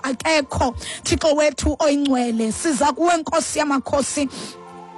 Akekho, Thixo wethu oyingcwele. Siza kuwe, Nkosi yamakhosi,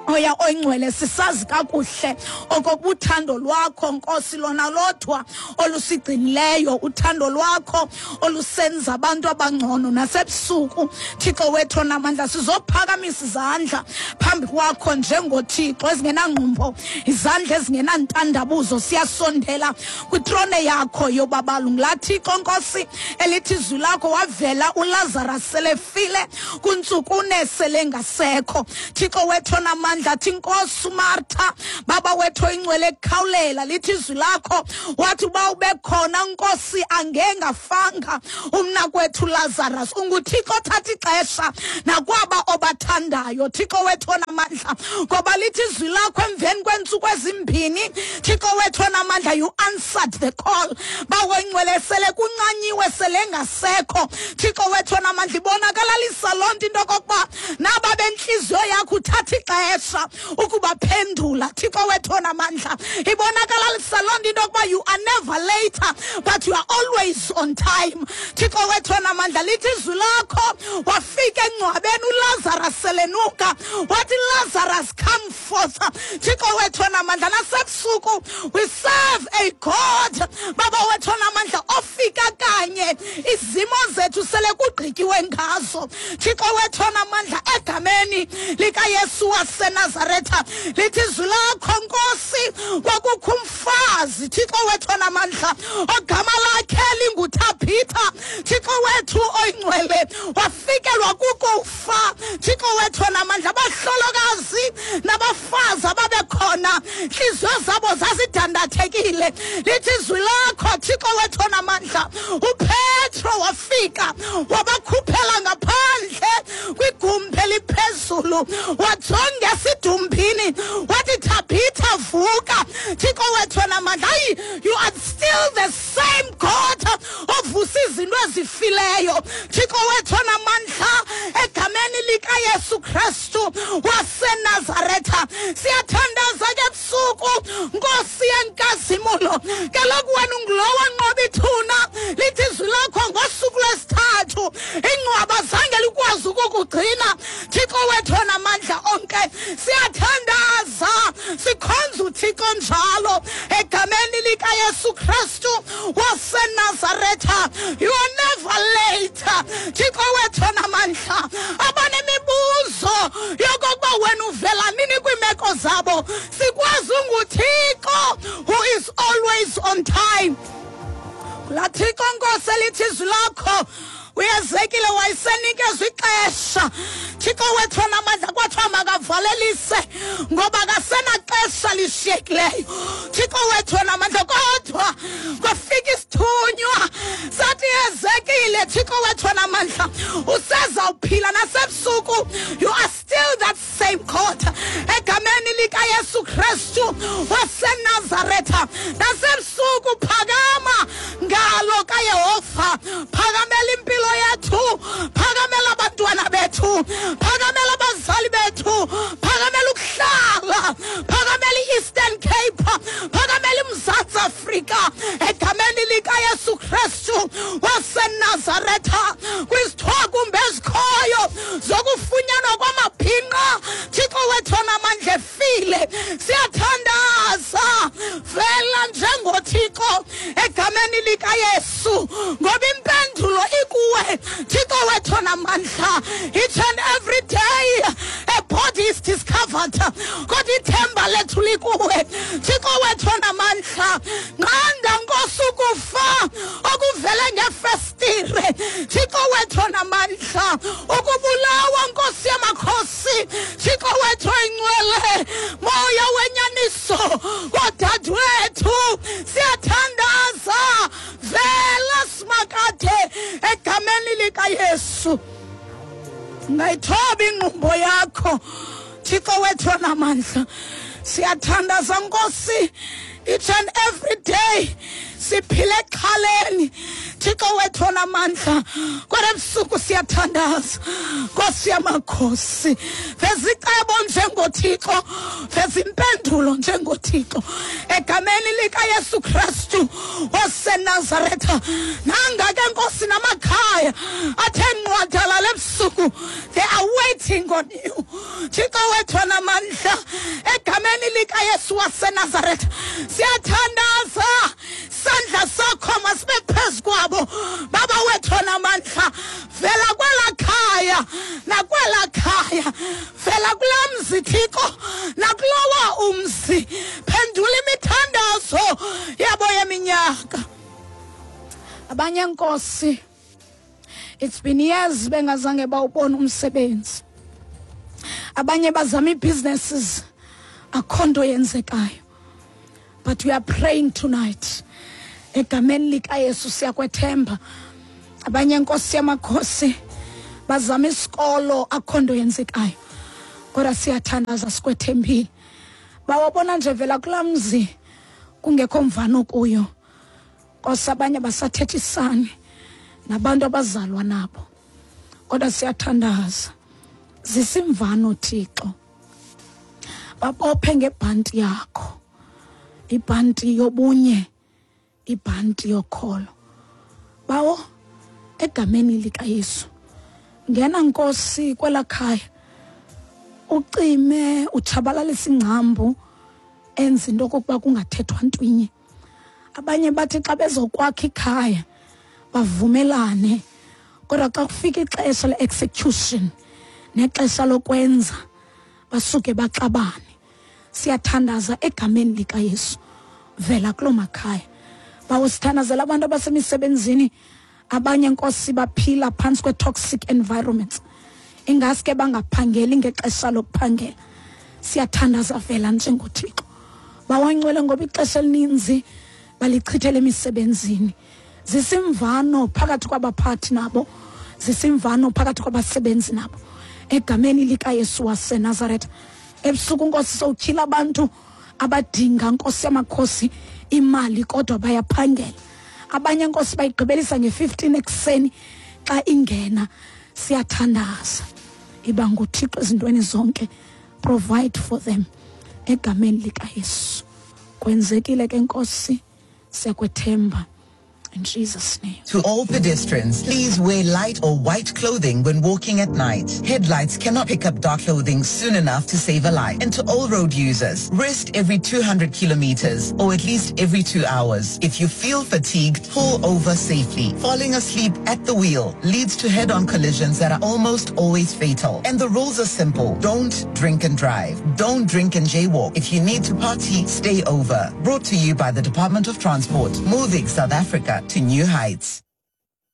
Oya oyingcwele, sisazi kakuhle okokuba uthando lwakho, Nkosi, lona lodwa olusigcinileyo, uthando lwakho olusenza abantu abangcono nasebusuku. Thixo wethu onamandla, sizophakamisa izandla phambi kwakho njengoThixo ezingenangqumbo, izandla ezingenantandabuzo. Siyasondela kwitrone yakho yobabalo ngulaa Thixo, Nkosi, elithi izwi lakho wavela uLazarus selefile kuntsukune selengasekho. Thixo wethu onamandla, athi Nkosi uMartha, Baba wethu oyingcwele, ekukhawulela, lithi izwi lakho wathi uba ube khona, Nkosi, angengafanga umnakwethu Lazarus. UnguThixo othatha ixesha nakwaba obathandayo, Thixo wethu onamandla, ngoba lithi izwi lakho emveni kweentsuku ezimbini, Thixo wethu onamandla, you answered the call. Bawo ingcwele, sele kuncanyiwe, sele ngasekho, Thixo wethu onamandla. Ibonakalalisa loo nto into okokuba naba bentliziyo yakho uthatha ixesha ukubaphendula, Thixo wethu onamandla. Ibonakalalisa loo nto into yokuba you are never later but you are always on time, Thixo wethu onamandla. Lithi izwi lakho wafika engcwabeni uLazarus selenuka, wathi, "Lazarus, come forth." Thixo wethu onamandla, nasebusuku we serve a God, Baba wethu onamandla, ofika kanye izimo zethu sele kugqityiwe ngazo, Thixo wethu onamandla, egameni likaYesu waseNazaretha. Lithi izwi lakho, Nkosi, kwakukho umfazi, Thixo wethu onamandla, ogama lakhe linguThabhitha, Thixo wethu oyingcwele, wafikelwa kukufa, Thixo wethu onamandla. Abahlolokazi nabafazi ababekhona, ntliziyo zabo zazidandathekile. Lithi izwi lakho, Thixo wethu onamandla, uPetro wafika wabakhuphela ngaphandle kwigumbi eliphezulu, wajonga esidumbini, wathi, "Thabitha, vuka." Thixo wethu onamandla, hayi, you are still the same God ovusa izinto ezifileyo, Thixo wethu onamandla, egameni likaYesu Kristu waseNazaretha. Siyathandaza ke ebusuku, Nkosi yenkazimulo. Kaloku wena ungulowo nqoba ithuna. Lithi izwi lakho ngosuku lwesithathu ingcwaba zange likwazi ukukugcina, Thixo wethu onamandla onke. Siyathandaza, sikhonza uThixo njalo, egameni likaYesu Kristu waseNazaretha. You are never late, Thixo wethu onamandla. Abanemibuzo yokokuba wena uvela nini kwiimeko zabo, sikwazi unguThixo who is always on time. Laa Thixo, Nkosi, elithi izwi lakho uYezekile wayesenikezwa ixesha, Thixo wethu onamandla, kwathiwa makavalelise ngoba akasenaxesha lishiyekileyo, Thixo wethu onamandla. Kodwa kwafika isithunywa sathi, "Yezekile, Thixo wethu onamandla, usezawuphila nasebusuku. You are still that same God, egameni likaYesu Kristu waseNazaretha. Nasebusuku phakama, ngalo kaYehova, phakamela impilo yethu, phakamela abantwana bethu, phakamela abazali bethu, phakamela ukuhlala, phakamela i-Eastern Cape, phakamela iMzantsi Afrika, egameni likaYesu Kristu waseNazaretha. Kwizithwakumbe ezikhoyo zokufunyanwa kwamabhinqa, Thixo wethu onamandla, efile, siyathandaza, vela njengoThixo egameni likaYesu, ngoba impendulo ikuwe, Thixo wethu onamandla. Each and every day a body is discovered, kodwa ithemba lethu likuwe, Thixo wethu onamandla. Nqanda, Nkosi, ukufa okuvele ngefestire, Thixo wethu onamandla, ukubulawa, Nkosi yamakhosi, Thixo wethu oyingcwele, Moya wenyaniso kodadewethu. Siyathandaza, vela simakade egameni likaYesu. Ngayithoba ingqumbo yakho, Thixo wethu onamandla. Siyathandaza, Nkosi. Each and every day siphile exhaleni, Thixo wethu onamandla, kodwa ebusuku siyathandaza. Nkosi yamakhosi, veza icebo njengoThixo, veza impendulo njengoThixo, egameni likaYesu Kristu waseNazaretha. Nanga ke, Nkosi, namakhaya athe nqwadalala ebusuku, they are waiting on you, Thixo wethu onamandla. Egameni likaYesu waseNazaretha siyathandaza, sandla sakho masibe phezu kwabo. Baba wethu onamandla, vela kwela khaya nakwela khaya, vela kulaa mzi, Thixo, nakulowa umzi, phendula imithandazo yabo yeminyaka. Abanye, Nkosi, it's been years bengazange bawubona umsebenzi. Abanye bazama ii-businesses, akho nto yenzekayo, but we are praying tonight. Egameni likaYesu siyakwethemba. Abanye, Nkosi yamakhosi, bazama isikolo, akho nto yenzekayo, kodwa siyathandaza, sikwethembile. Bawabona nje, vela kulaa mzi kungekho mvano kuyo, Nkosi. Abanye basathethisani nabantu abazalwa nabo, kodwa siyathandaza, zisimvano, Thixo. Babophe ngebhanti yakho, ibhanti yobunye, ibhanti yokholo. Bawo, egameni likaYesu, ngena, Nkosi, kwela khaya, ucime, utshabalalisa ingcambu enza into okokuba kungathethwa ntwinye. Abanye bathi xa bezokwakha ikhaya bavumelane, kodwa xa kufika ixesha le-execution nexesha lokwenza basuke baxabane. Siyathandaza egameni likaYesu, vela kuloo makhaya. Bawo, sithandazela abantu abasemisebenzini. Abanye, Nkosi, baphila phantsi kwe-toxic environments, ingaske bangaphangeli ngexesha lokuphangela. Siyathandaza, vela njengoThixo, bawangcwele, ngoba ixesha elininzi balichithela emisebenzini. Zisimvano phakathi kwabaphathi nabo, zisimvano phakathi kwabasebenzi nabo, egameni likaYesu waseNazaretha. Ebusuku, Nkosi, sowutyhila abantu abadinga, Nkosi yamakhosi, imali, kodwa bayaphangela. Abanye, Nkosi, bayigqibelisa nge-15 ekuseni xa ingena. Siyathandaza, iba nguThixo ezintweni zonke, provide for them, egameni likaYesu. Kwenzekile ke, Nkosi, siyakwethemba, in Jesus' name. To all pedestrians, please wear light or white clothing when walking at night. Headlights cannot pick up dark clothing soon enough to save a life. And to all road users, rest every 200 kilometers or at least every 2 hours. If you feel fatigued, pull over safely. Falling asleep at the wheel leads to head-on collisions that are almost always fatal. And the rules are simple. Don't drink and drive. Don't drink and jaywalk. If you need to party, stay over. Brought to you by the Department of Transport, moving South Africa to new heights.